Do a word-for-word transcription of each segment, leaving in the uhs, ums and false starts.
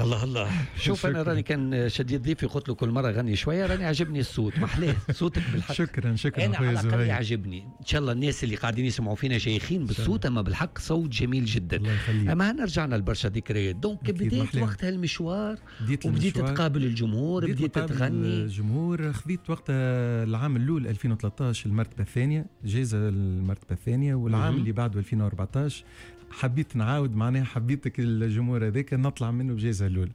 الله الله. شوف انا راني كان شديد ضيفي قلت له كل مرة غني شويه، راني عجبني الصوت، محلاه صوتك بالحق. شكرا شكرا. انا على الاقل يعجبني. ان شاء الله الناس اللي قاعدين يسمعوا فينا شيخين بالصوت، اما بالحق صوت جميل جدا. الله يخليك. اما رجعنا لبرشا ذكريات. donc بديت وقتها المشوار، وبديت تقابل الجمهور، بديت تغني الجمهور. خذيت وقتها العام الاول ألفين وثلاثطاش المرتبة الثانيه، جائزة المرتبة الثانيه، والعام اللي بعده ألفين وأربعطاش حبيت نعاود، معناها حبيتك الجمهور هذاك نطلع منه بجائزة الاولى.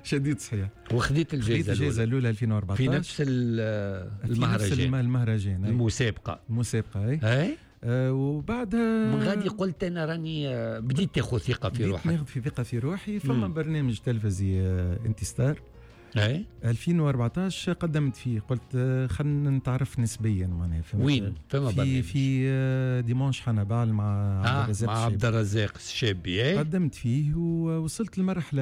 شديد صحيح. وخذيت الجائزة الجائزة الاولى ألفين وأربعطاش في نفس المهرجان. في نفس المهرجان، المسابقة المسابقة اي اي. آه وبعدها من غادي قلت انا راني بديت تاخذ ثقة في روحك. بديت ناخذ في ثقة في روحي. فما مم. برنامج تلفزي آه انت ستار اي ألفين وأربعطاش قدمت فيه، قلت خلينا نتعرف نسبيا معناها. وين فما في في dimanche حنبال مع آه عبد الرزاق مع عبد الرزاق الشابي. اي قدمت فيه ووصلت لمرحلة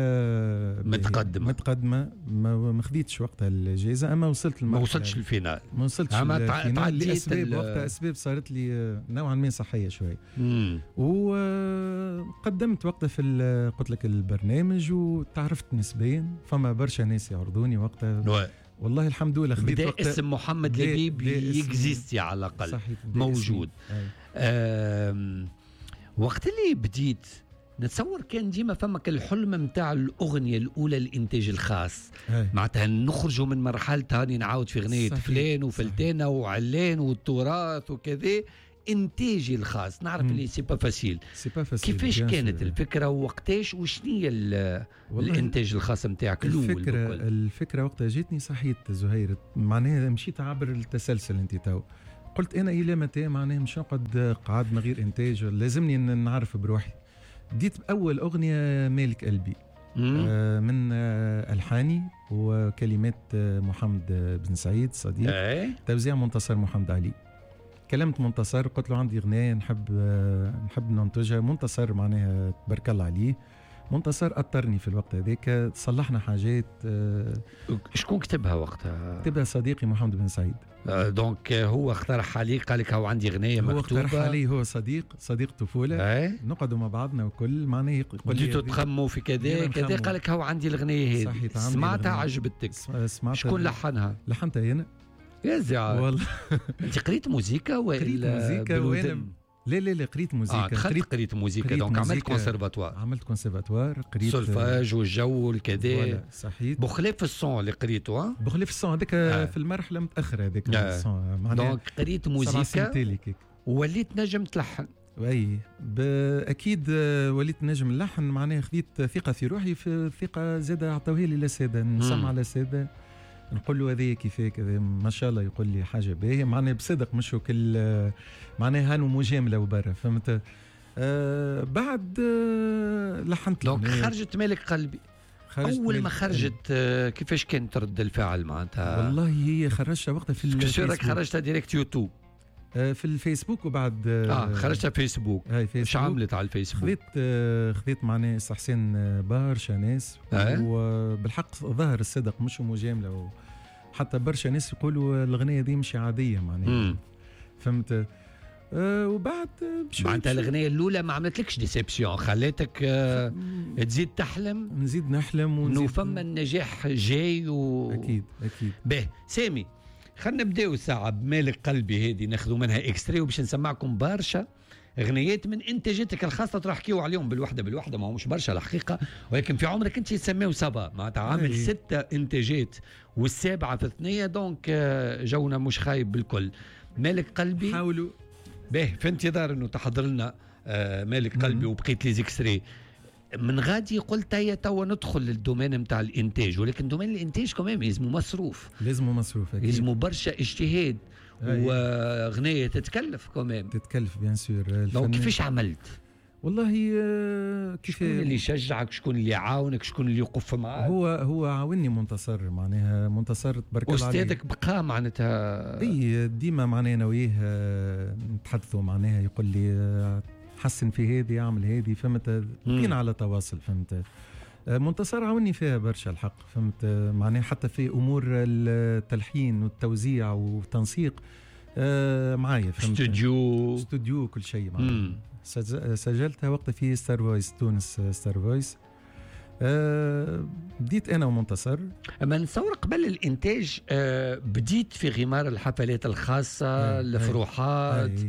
متقدمة متقدمة ما خذيتش وقتها الجائزة، اما وصلت لمرحلة ما وصلتش لل finale. ما وصلتش لل finale لاسباب وقتها، اسباب صارت لي نوعا ما صحية شوي. وقدمت وقتها في قلت لك البرنامج وتعرفت نسبيا، فما برشا ناس يعرضوني وقتها. والله الحمد لله خذيت وقتها اسم محمد لبيب ي existe على الاقل موجود. وقت اللي بديت نتصور كان ديما فما الحلم نتاع الاغنية الاولى الانتاج الخاص، معناتها نخرجوا من مرحلة هاني نعاود في اغنية فلان وفلتانه وعلان والتراث وكذا، انتاجي الخاص. نعرف اللي c'est pas facile. c'est pas facile. كيفاش كانت الفكرة ووقتاش وشنية الانتاج الخاص نتاعك الاول؟ الفكرة الفكرة وقتها جاتني صحيت زهير، معناها مشيت عبر التسلسل انت تو. قلت انا الى متى معناها مش نقعد قاعد من غير انتاج، لازمني نعرف بروحي. بديت باول اغنية مالك قلبي آه من آه الحاني وكلمات آه محمد بن سعيد صديق، أي. توزيع منتصر محمد علي. كلمت منتصر قلت له عندي اغنية نحب نحب ننتجها. منتصر معناها تبارك الله عليه، منتصر اطرني في الوقت هذاك، صلحنا حاجات. شكون كتبها وقتها؟ كتبها صديقي محمد بن سعيد. donc هو اقترح عليك، قال لك هو عندي اغنية مكتوبة. هو اقترح علي، هو صديق صديق طفولة. نقعدوا مع بعضنا وكل معناها يقول لي بديتوا تخموا في كذا كذا، قال لك هو عندي الاغنية هذه. سمعتها عجبتك؟ سمعتها. شكون لحنها؟ لحنتها انا. يا زعل والله. انت قريت موزيكا ولا قريت موزيكا وانا لا لا لا قريت موزيكا. آه قريت قريت موزيكا. donc عملت كونسيرفاتوار. عملت كونسيرفاتوار، قريت سولفاج والجو والكذا. صحيح. بخلاف ال son اللي قريته. بخلاف ال son هذاك آه. في المرحلة متاخرة هذاك آه. ال son. donc قريت موزيكا ووليت نجم تلحن. اي اكيد وليت نجم نلحن، معناها خذيت ثقة في روحي، في ثقة زاده عطاوها لي الاساتذة، نسمع الاساتذة نقول له هذه كيفاه كذا، ما شاء الله يقول لي حاجة باهيه، معناها بصدق مش كل معناها هانو مجاملة وبرا، فهمت. آه بعد آه لحنت. donc خرجت مالك قلبي. خرجت اول ما خرجت آه كيفاش كانت رد الفعل معناتها؟ والله هي خرجتها وقتها في الفيسبوك. خرجتها direct يوتيوب؟ آه في الفيسبوك وبعد اه, آه خرجتها فيسبوك. ايش عملت على الفيسبوك؟ خذيت آه خذيت معناها استحسان برشا ناس. آه؟ وبالحق ظهر الصدق مش مجاملة، حتى برشا ناس يقولوا الغنية دي مش عادية معناها، فهمت. أه وبعد معناتها الغنية الأولى ما عملتلكش déception، خلاتك أه تزيد تحلم. نزيد نحلم ونزيد فما النجاح جاي و... أكيد أكيد. به سامي خلينا نبداو ساعة بمالك قلبي هذه، ناخذوا منها extrait وباش نسمعكم برشا اغنيات من انتاجاتك الخاصة تروح حكيوا عليهم بالوحدة بالوحدة، ما همش برشا الحقيقة، ولكن في عمرك انت تسميو سبعة، معناتها عامل ستة انتاجات والسابعه في ثنيه، donc جونا مش خايب بالكل. مالك قلبي حاولوا به في انتظار انه تحضر لنا مالك قلبي وبقيت les extraits. من غادي قلت هيا توا ندخل لل domaine نتاع الانتاج، ولكن domaine الانتاج كمان لازمو مصروف، لازمو مصروف اكيد، لازمو برشا اجتهاد وغنية تتكلف كمان، تتكلف bien sûr. donc كيفاش عملت؟ والله كيف شكون اللي شجعك، شكون اللي عاونك، شكون اللي يقف معاك؟ هو هو عاوني منتصر، معناها منتصر تبارك الله عليه. استاذك بقى معناتها؟ اي ديما معناها انا وياه نتحدثوا، معناها يقول لي حسن في هذه، اعمل هذه، فهمت، بقينا على تواصل، فهمت. منتصر عاوني فيها برشا الحق، فهمت، معناها حتى في امور التلحين والتوزيع والتنسيق معايا، فهمت. استوديو استوديو كل شيء معناها. سجلتها وقتها في ستار فويس تونس، ستار فويس. أه بديت انا ومنتصر. اما نتصور قبل الانتاج أه بديت في غمار الحفلات الخاصة، الفروحات.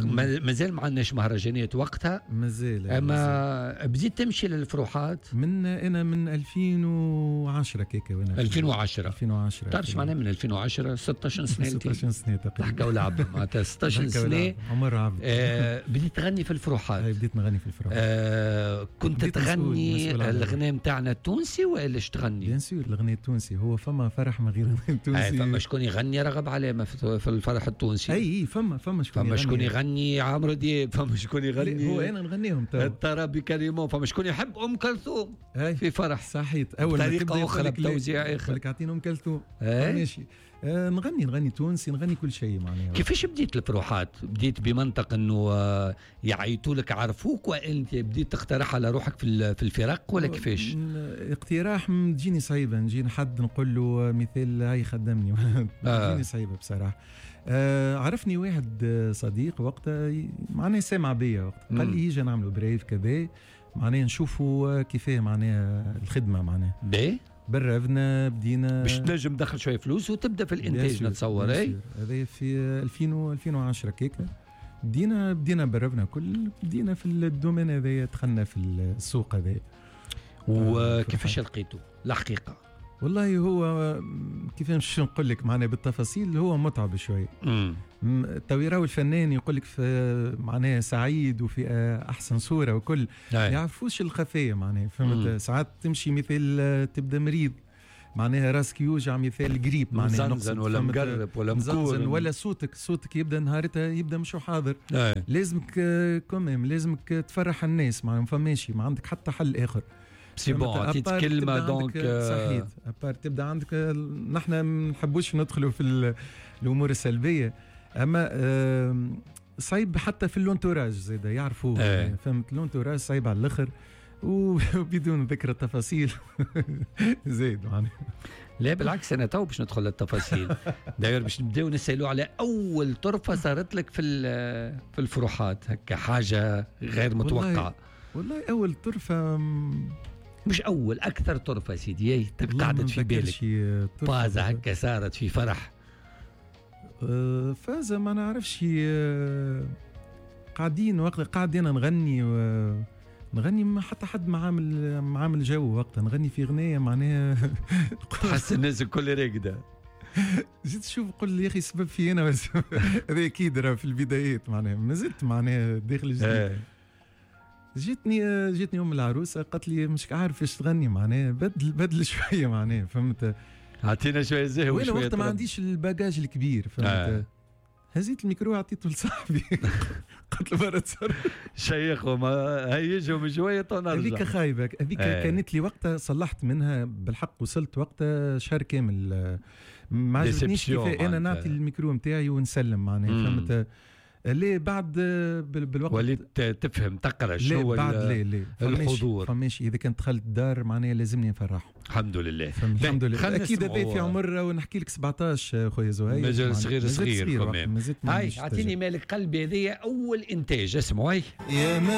مازال ما عندناش مهرجانات وقتها، مازال. اما بديت تمشي للفروحات من انا من ألفين وعشرة كيكا. وانا ألفين وعشرة ألفين وعشرة تعرف معناها من ألفين وعشرة ستة عشر سنة، ستة عشر سنة تقريبا. ضحكه ولعب معناتها ستة عشر سنة عمر عبد. آه بديت تغني في الفروحات. بديت نغني في الفروحات. آه كنت تغني الغناء نتاعنا التونسي والا اش تغني؟ bien sûr الغناء التونسي، هو فما فرح من غير الغناء التونسي؟ فما شكون يغني رغب علامة في الفرح التونسي؟ اي فما فما شكون فما شكون يغني عمرو دياب، فما شكون يغني هو انا نغنيهم تو الطرابي كريمون، فما شكون يحب ام كلثوم في فرح. صحيت اول ما طريقه اخرى بتوزيع اخر لك اعطينا ام كلثوم. ماشي. آه نغني نغني تونسي، نغني كل شيء معناها. كيفاش بديت الفروحات؟ بديت بمنطق انه يعيطوا لك عرفوك، وانت بديت تقترح على روحك في في الفرق ولا كيفاش؟ اقتراح تجيني صعيبة، نجي حد نقول له مثال هاي خدمني تجيني صعيبة بصراحة. آه عرفني واحد صديق وقتها معناها سامع بيا وقتها، قال لي يجي نعملوا preuve كذا معناها نشوفوا كيفاه معناها الخدمة معناها. باهي برفنا بدينا باش تنجم تدخل شوية فلوس وتبدا في الانتاج نتصور. اي هذا في ألفين وعشرة كيكا بدينا بدينا برفنا كل بدينا في ال domaine هذايا، دخلنا في السوق هذايا. وكيفاش لقيته الحقيقة؟ والله هو كيفاش نقول لك معناها بالتفاصيل، هو متعب شوية. تو يراو الفنان يقول لك في معناها سعيد وفي احسن صوره وكل، ما يعرفوش الخفية معناها فهمت. ساعات تمشي مثل تبدا مريض معناها راسك يوجع مثال قريب معناها مزنزن ولا مقرب ولا مكور ولا صوتك صوتك يبدا نهارتها يبدا مش حاضر. أي. لازمك quand même لازمك تفرح الناس معناها، فماشي ما عندك حتى حل اخر. c'est bon عطيت كلمة donc صحيت. à part تبدا عندك، نحن ما نحبوش ندخلوا في الامور السلبية، اما صعيب حتى في l'entourage زاد يعرفوه. ايه. فهمت l'entourage صعيب على الاخر وبدون ذكر التفاصيل زيد معناها. لا بالعكس انا تو باش ندخل للتفاصيل. داير باش نبداو نسالوا على اول طرفه صارت لك في في الفروحات هكا حاجة غير متوقعه. والله, والله اول طرفه مش اول، اكثر طرفه سيدي قعدت في بالك فازة هكا صارت في فرح. فازة ما نعرفش، قاعدين وقت قاعدين نغني و... نغني ما حتى حد ما عامل ما عامل جو وقتها، نغني في غنية معناها تحس الناس الكل راقده. جيت تشوف قل لي يا اخي السبب في انا، هذا اكيد راه في البدايات معناها ما زلت معناها داخل جديد. جيتني جيتني ام العروسة قالت لي مش عارف ايش تغني معناها بدل بدل شوية معناها فهمت، اعطينا شوية زهو شوية. وانا وقت ما عنديش ال bagage الكبير فهمت. آه. هزيت الميكرو عطيته لصاحبي قلت له برا تصرف شيخهم هيجهم شوية ونرجع. هذيك خايبة هذيك. آه. كانت لي وقتها صلحت منها بالحق، وصلت وقتها شهر كامل ما عجبتنيش كيف انا نعطي الميكرو نتاعي ونسلم معناها فهمت. ليه بعد بالوقت وليت تفهم تقرا شنو بعد ليه ليه الحضور فماشي. اذا كنت دخلت الدار معناها لازمني نفرحهم. الحمد لله الحمد لله. اكيد هذا في عمر ونحكي لك سبعطاش خويا زهير، مازال صغير صغير. هاي اعطيني مالك قلبي، هذه اول انتاج اسمعوا. هاي